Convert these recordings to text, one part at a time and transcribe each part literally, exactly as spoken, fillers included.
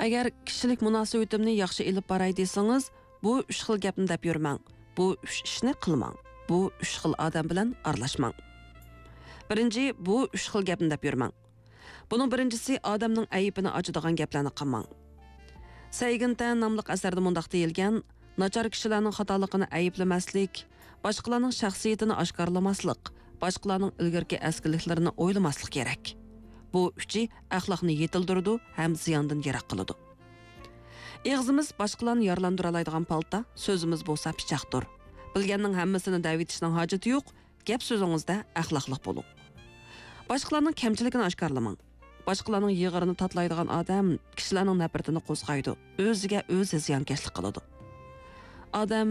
ئەگەر كىشىلىك مۇناسىۋىتىمنى ياخشى ئېلىپ باراي دېسىڭىز، بۇ ئۈچ خىل گەپنى دەپ يۈرمەڭ، بۇ ئۈچ ئىشنى قىلماڭ، بۇ ئۈچ خىل ئادەم بىلەن ئارىلاشماڭ. بىرىنچى، بۇ ئۈچ خىل گەپنى دەپ يۈرمەڭ. بۇنىڭ بىرىنچىسى، ئادەمنىڭ ئەيىبىنى ئاچىدىغان گەپلەرنى قىلماڭ. سەيگىنتەن ناملىق ئەسەردە مۇنداق دېيىلگەن: ناچار كىشىلەرنىڭ خاتالىقىنى ئەيىبلىمەسلىك، باشقىلارنىڭ شەخسىيىتىنى ئاشكارىلىماسلىق، باشقىلارنىڭ ئىلگىرىكى ئەسكىلىكلىرىنى ئويلىماسلىق كېرەك. بۇ ئۈچى ئەخلاقنى يېتىلدۈرىدۇ ھەم زىياندىن يىراق قىلىدۇ. ئېغىزىمىز باشقىلارنى يارىلاندۇرالايدىغان پالتا، سۆزىمىز بولسا پىچاقتۇر. بىلگەننىڭ ھەممىسىنى دەۋېتىشنىڭ ھاجىتى يوق، گەپ سۆزىڭىزدە ئەخلاقلىق بولۇڭ. باشقىلارنىڭ كەمچىلىكىنى ئاشكارىلىماڭ. باشقىلارنىڭ يىغىرىنى تاتىلايدىغان ئادەم كىشىلەرنىڭ نەپرىتىنى قوزغايدۇ، ئۆزىگە ئۆزى زىيانكەشلىك قىلىدۇ. ئادەم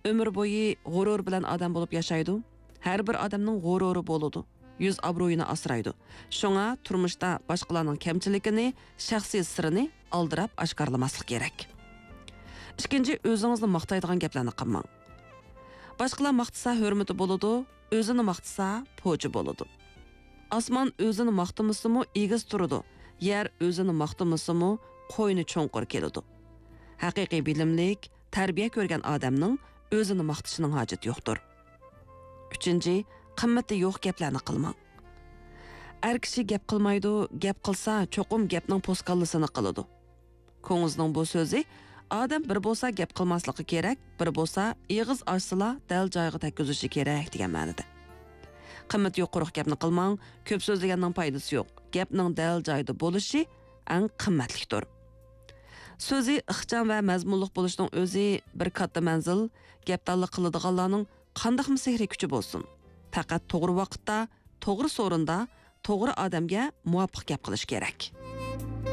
ئۆمۈر بويى غۇرۇر بىلەن ئادەم بولۇپ ياشايدۇ. ھەر بىر ئادەمنىڭ غۇرۇرى بولىدۇ، يۈز ئابرۇيىنى ئاسرايدۇ. شۇڭا تۇرمۇشتا باشقىلارنىڭ كەمچىلىكىنى، شەخسىي سىرىنى ئالدىراپ ئاشكارىلىماسلىق كېرەك. ئىككىنچى، ئۆزىڭىزنى ماختايدىغان گەپلەرنى قىلماڭ. باشقىلار ماختىسا ھۆرمىتى بولىدۇ، ئۆزىنى ماختىسا پوچى بولىدۇ. ئاسمان ئۆزىنى ماختىمىسىمۇ ئېگىز تۇرىدۇ، يەر ئۆزىنى ماختىمىسىمۇ قوينى چوڭقۇر كېلىدۇ. ھەقىقىي بىلىملىك، تەربىيە كۆرگەن ئادەمنىڭ ئۆزىنى ماختىشىنىڭ ھاجىتى يوقتۇر. ئۈچىنچى، قىممىتى يوق گەپلەرنى قىلماڭ. ئەر كىشى گەپ قىلمايدۇ، گەپ قىلسا چوقۇم گەپنىڭ پوسكاللىسىنى قىلىدۇ. كوڭزىنىڭ بۇ سۆزى، ئادەم بىر بولسا گەپ قىلماسلىقى كېرەك، بىر بولسا ئېغىز ئاچسىلا دەل جايىغا تەگكۈزۈشى كېرەك دېگەن مەنىدە. قىممىتى يوق قۇرۇق گەپنى قىلماڭ، كۆپ سۆزلىگەننىڭ پايدىسى يوق. گەپنىڭ دەل جايىدا بولۇشى ئەڭ قىممەتلىكتۇر. سۆزى ئىخچام ۋە مەزمۇنلۇق بولۇشنىڭ ئۆزى بىر كاتتا مەنزىل، گەپدانلىق قىلىدىغانلارنىڭ قانداقمۇ سېھرىي كۈچى بولسۇن؟ پەقەت توغرا ۋاقىتتا، توغرا سورۇندا، توغرا ئادەمگە مۇۋاپىق گەپ قىلىش كېرەك.